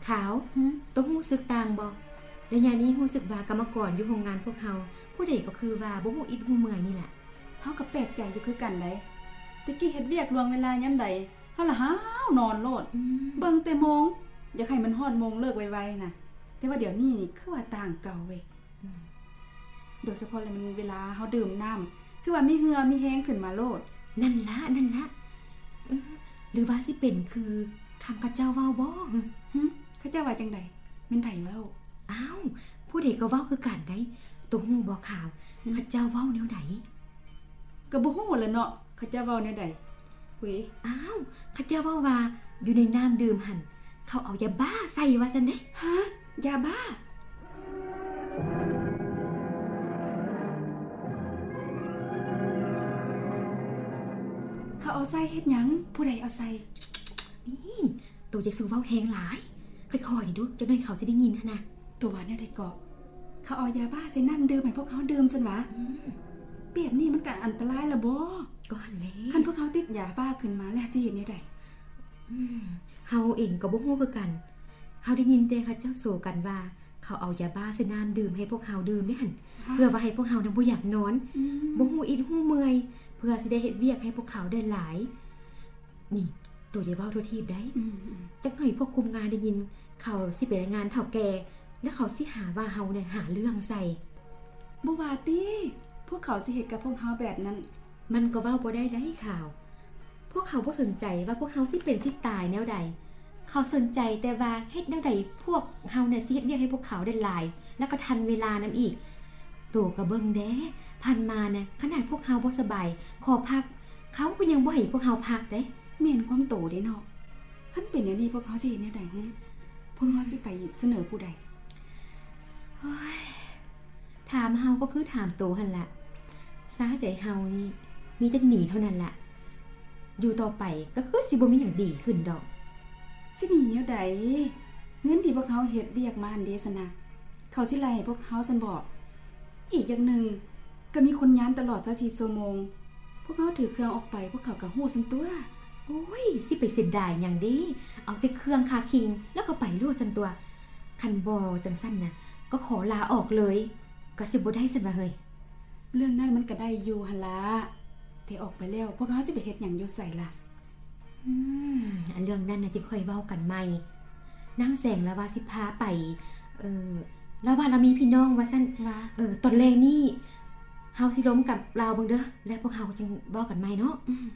ຂາວ, ຫື? ໂຕຮູ້ສຶກຕ່າງບໍ່? ໄລຍະນີ້ຮູ້ສຶກວ່າກຳມະກອນຢູ່ໂຮງງານພວກເຮົາ ຜູ້ໃດກໍຄືວ່າບໍ່ຮູ້ອິດຮູ້ເມື່ອຍນີ້ລະ. ເຮົາກໍແປກໃຈຢູ່ຄືກັນໃດ໋. ແຕ່ກີ້ເຮັດວຽກລ່ວງເວລາຍາມໃດ ເຮົາລະຫາວນອນໂລດ. ອືມ. ເບິ່ງແຕ່ໂມງ ຢາກໃຫ້ມັນຮອດໂມງເລີກໄວໆນະ. ແຕ່ວ່າດຽວນີ້ນີ້ຄືວ່າຕ່າງເກົ່າເວີຍ. ອືມ. ໂດຍສະເພາະລະມັນເວລາເຮົາດື່ມນ້ຳ ຄືວ່າມີເຫື່ອມີແຮງຂຶ້ນມາໂລດ. ນັ້ນລະ ນັ້ນລະ. ອືມ. ຫຼືວ່າຊິເປັນຄືຄຳເຂົາເຈົ້າເວົ້າບໍ? ຫື? ເຂົາເຈົ້າວ່າຈັ່ງໃດ? ແມ່ນໃຜເວົ້າ? ອ້າວ ຜູ້ໃດກໍເວົ້າຄືກັນໃດ໋. ໂຕຮູ້ບໍ່ຂາວ? ຫື? ເຂົາເຈົ້າເວົ້າແນວໃດ? ກໍບໍ່ຮູ້ລະເນາະ ເຂົາເຈົ້າເວົ້າແນວໃດ. ຫຸຍ. ອ້າວ ເຂົາເຈົ້າເວົ້າວ່າຢູ່ໃນນ້ຳດື່ມຫັ້ນ ເຂົາເອົາຢາບ້າໃສ່ວ່າຊັ້ນເດ້. ຫະ? ຢາບ້າ? ເຂົາເອົາໃສ່ເຮັດຫຍັງ? ຜູ້ໃດເອົາໃສ່? ນີ້ ໂຕຢ່າສູ່ເວົ້າແຮງຫຼາຍ ຄ່ອຍໆນີ້ດຸ ຈັກໜ້ອຍເຂົາຊິໄດ້ຍິນຫັ້ນນະ. ໂຕວ່າແນວໃດເກາະ? ເຂົາເອົາຢາບ້າໃສ່ນ້ຳດື່ມໃຫ້ພວກເຮົາດື່ມຊັ້ນຫວາ? ອືມ. ແບບນີ້ມັນກະອັນຕະລາຍລະບໍ? ກໍຫັ້ນແຫຼະ ຄັນພວກເຮົາຕິດຢາບ້າຂຶ້ນມາແລ້ວຊິເຮັດແນວໃດ? ອືມ. ເຮົາເອງກໍບໍ່ຮູ້ຄືກັນ. ເຮົາໄດ້ຍິນແຕ່ເຂົາເຈົ້າໂສກັນວ່າ ເຂົາເອົາຢາບ້າໃສ່ນ້ຳດື່ມໃຫ້ພວກເຮົາດື່ມເດ້ຫັ້ນ ເພື່ອວ່າໃຫ້ພວກເຮົານະບໍ່ຢາກນອນ ອືມ ບໍ່ຮູ້ອິດຮູ້ເມື່ອຍ ເພື່ອຊິໄດ້ເຮັດວຽກໃຫ້ພວກເຂົາໄດ້ຫຼາຍ. ນີ້ ໂຕຢ່າເວົ້າທົ່ວທີບໄດ໋. ອືມໆ. ຈັກໜ້ອຍພວກຄຸມງານໄດ້ຍິນ ເຂົາຊິໄປລາຍງານເຖົ້າແກ່ ແລ້ວເຂົາຊິຫາວ່າເຮົານະຫາເລື່ອງໃສ່. ບໍ່ວ່າຕິ ພວກເຂົາຊິເຮັດກັບພວກເຮົາແບບນັ້ນ. ມັນກໍເວົ້າບໍ່ໄດ້ໃດ໋ຂາວ. ພວກເຂົາບໍ່ສົນໃຈວ່າພວກເຮົາຊິເປັນຊິຕາຍແນວໃດ. ເຂົາສົນໃຈແຕ່ວ່າເຮັດແນວໃດພວກເຮົານະຊິເຮັດວຽກໃຫ້ພວກເຂົາໄດ້ຫຼາຍ ແລ້ວກໍທັນເວລານຳອີກ. ໂຕກໍເບິ່ງແດ່ ຜ່ານມານະ ຂະໜາດພວກເຮົາບໍ່ສະບາຍ ຂໍພັກ ເຂົາກໍຍັງບໍ່ໃຫ້ພວກເຮົາພັກເດ້. ແມ່ນຄວາມໂຕເດ້ເນາະ. ຄັນເປັນແນວນີ້ພວກເຮົາຊິເຮັດແນວໃດຫື? ພວກເຮົາຊິໄປສະເໜີຜູ້ໃດ? ໂອ້ຍ ຖາມເຮົາກໍຄືຖາມໂຕຫັ້ນລະ. ຊາໃຈເຮົານີ້ມີແຕ່ໜີເທົ່ານັ້ນລະ. ຢູ່ຕໍ່ໄປກໍຄືຊິບໍ່ມີຫຍັງດີຂຶ້ນດອກ. ຊິໜີແນວໃດ? ເງິນທີ່ພວກເຮົາເຮັດວຽກມາຫັ້ນເດຊັ້ນນະ ເຂົາຊິໄລ່ໃຫ້ພວກເຮົາຊັ້ນບໍ? ອີກຢ່າງໜຶ່ງ ກໍມີຄົນຍາມຕະຫຼອດຊາວສີ່ຊົ່ວໂມງ. ພວກເຮົາຖືເຄື່ອງອອກໄປ ພວກເຂົາກໍຮູ້ຊັ້ນຕົວະ. ໂອ້ຍ ຊິໄປເສຍດາຍຫຍັງເດ? ເອົາແຕ່ເຄື່ອງຄາຄິງ ແລ້ວກໍໄປໂລດຊັ້ນຕົວະ. ຄັນບໍ່ຈັ່ງຊັ້ນນະ ກໍຂໍລາອອກເລີຍ ກໍຊິບໍ່ໄດ້ຊັ້ນຫວາເຮີ້ຍ? ເລື່ອງນັ້ນມັນກໍໄດ້ຢູ່ຫັ້ນລະ ແຕ່ອອກໄປແລ້ວ ພວກເຮົາຊິໄປເຮັດຫຍັງຢູ່ໃສລະ? ອືມ ອັນເລື່ອງນັ້ນນະ ຈັ່ງຄ່ອຍເວົ້າກັນໃໝ່. ນາງແສງລາວວ່າຊິພາໄປ ເອີ ລາວວ່າລາວມີພີ່ນ້ອງວ່າຊັ້ນ. ວ່າ? ເອີ ຕອນແລງນີ້ເຮົາຊິລົມກັບລາວເບິ່ງເດີ ແລ້ວພວກເຮົາຈຶ່ງເວົ້າກັນໃໝ່ເນາະ. ອືມ.